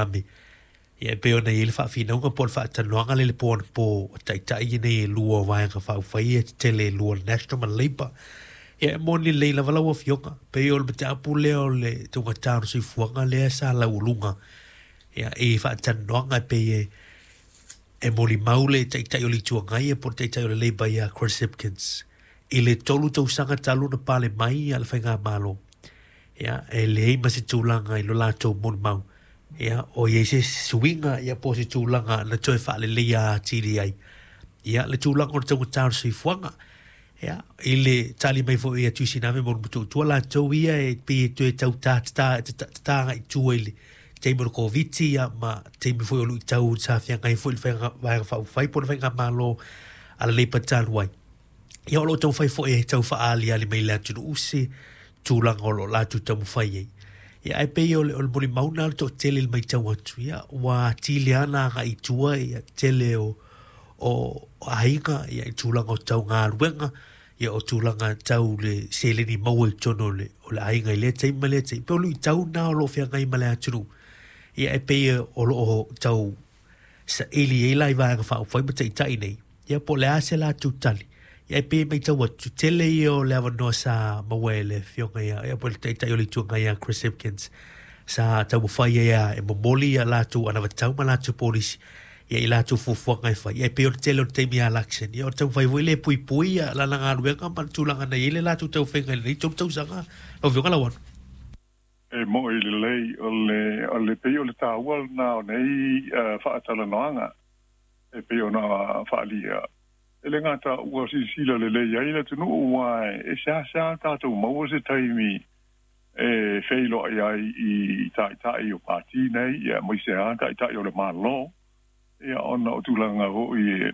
Ame. Ia, e pei ona i ai le faafinauga po o le faatalanoaga lea i le po anapo o taitai nei e lua o Vaega Faaupufai ia tetele e lua o le National ma le Labour. Ia, e moni lelei lava lau Afioga, pei o le mataupu lea o le taugata o le soifuaga lea sa laualuga ia, i faatalanoaga e pei e molimau le Taitai o le Itu Agai po o le Taitai o le Labour ia Chris Hipkins i le 3 tausaga talu ona pale mai le Faigamalo. Ia, e leai ma se tulaga i lo latou molimau ia o i ai se suiga ia po o se tulaga na toe faaleleia atili ai ia le tulaga o le taugata o le soifuaga. Ia, i le tali mai foi a Tuisinave mo le Motootua latou ia e pei e toe tau tatāga i tua i le taimi o le Koviti ia ma taimi foi o luitau sa feagai foi le Vaega Faaupufai po o le Faigamalo a le Labour talu ai. Ia, o lo o taumafai foi e tau faaaliali mai le atunuu se tulaga o lo o latou taumafai ai. Ia, ae pei o le molimau na o le toatele i le matau atu, ia, ua atili lava ona agai i tua ia tele o aiga ia, i tulaga o tau galuega, ia, o tulaga tau le seleni maua i totonu o le aiga i lea taimi ma lea taimi. Pei o luitau na o lo o feagai ma le atunuu. Ia, e pei o lo o tau saili ai la i Vaega Faaupufai ma taitai nei, ia, po o le a se latou tali. Ia, e pei e matau atu, tele ia o le avanoa sa maua e le afioga ia po o le Taitai o le Itu Agai ia Chris Hipkins sa taumafai ai e momoli ia latou anavatau ma latou polisi ia i latou fuafuaga e fai. Ia, e pei o le tele o le taimi ia election, ia, o le taumafai foi le puipui ia lana galuega ma le tulaga na i ai le latou taufaiga i lenei 3 tausaga, lau Afioga Lauano. E mo'i lelei o le pei o le taua lena o nei faatalanoaga e pei ona faaalia e le gata ua silasila lelei ai le atunuu, ua e seasea tatou maua se taimi e feiloai ai i taitai o pati nei, ia aemaise a taitai o le Malo, ia ona o tulaga foi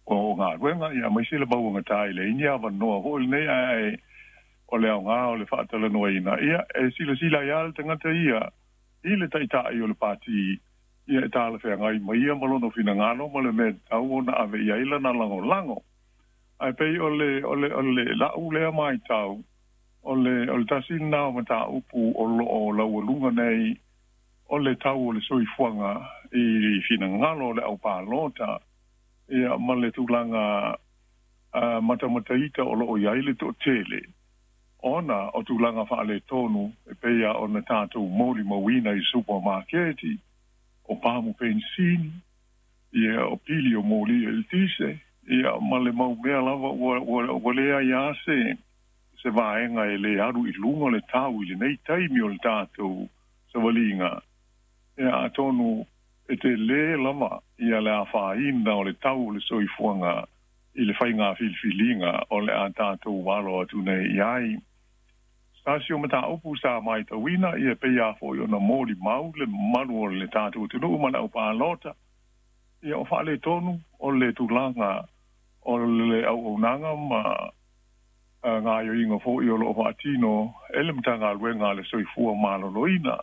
o galuega, ia aemaise le mauagata i le ini avanoa foi lenei. Ae o le aoga o le faatalanoaina, ia e silasila ai lava le tagata ia i le taitai o le pati, ia e talafeagai mai ia ma lona finagalo ma le mea tatau ona ave i ai lana lagolago. Ae pei o le la'u lea matau o le tasi lena o mataupu o lo o laualuga nei o le tau o le soifuaga i finagalo o le aupalota, ia ma le tulaga matamataita o lo o i ai le toatele ona o tulaga faaletonu e pei a ona tatou molimauina i supamaketi o pamu penisini, ia o pili o moli eletise, ia ma le mau mea lava ua leai a se vaega e lē alu i luga le tau i lenei taimi o le tatou savaliga. Ia atonu e telē lava ia le afaina o le tau o le soifuaga i le faiga filifiliga o le a tatou alo atu nei i ai. Tasi o mataupu sa matauina ia pei a foi ona molimau le mamalu o le tatou atunuu ma le aupalota, ia o faaletonu o le tulaga o le auaunaga ma gaoioiga foi o lo o faatino e le Matagaluega a le Soifua Maloloina.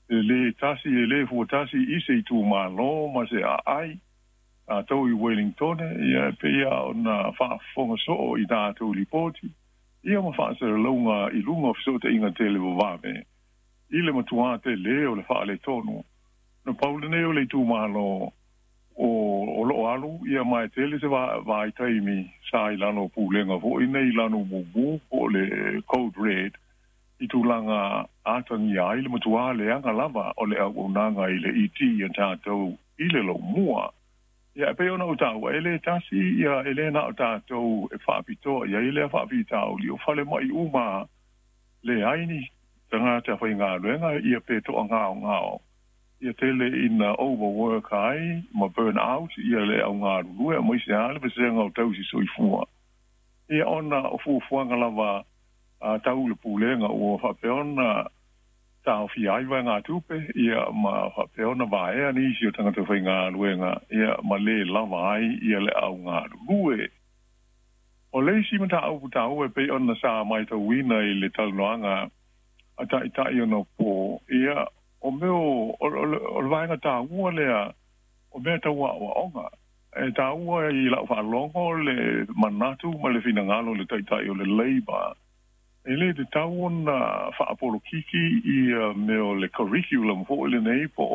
E lē tasi e lē fuatasi i se itumalo ma se aai tatou i Wellington, ia e pei ona faafofoga soo i tatou lipoti ia ma faasalalauga i luga o fesootaiga televavave i le matuā telē o le faaletonu. Na pau lenei o le itumalo o loo alu ia ma e tele se vaitaimi sa i lalo o pulega foi nei lanu mumu po o le code red i tulaga atagia ai le matuā leaga lava o le auaunaga i le IT ia tatou i le lomua. Ia e pei ona ou taua e lē tasi ia e lē na o tatou e faapitoa i ai lea faafitauli o falemai uma leai ni tagata faigaluega ia pe toagaogao ia tele ina overwork ai ma burn out ia le augalulue aemaise a le vasega o tausi soifua, ia ona o fuafuaga lava a tau le pulega ua faapea ona taofia ai vaegatupe ia ma faapea ona vaea nisi o tagata faigaluega ia ma lē lava ai ia le augalulue. O le isi mataupu taua e pei ona sa matauina i le talanoaga a taitai ona po ia o mea o le vaega taua lea o mea tau aoaoga e taua i lau faalogo le manatu ma le finagalo o le Taitai o le Labour e lē tatau ona faapolokiki ia mea o le curriculum foi lenei po.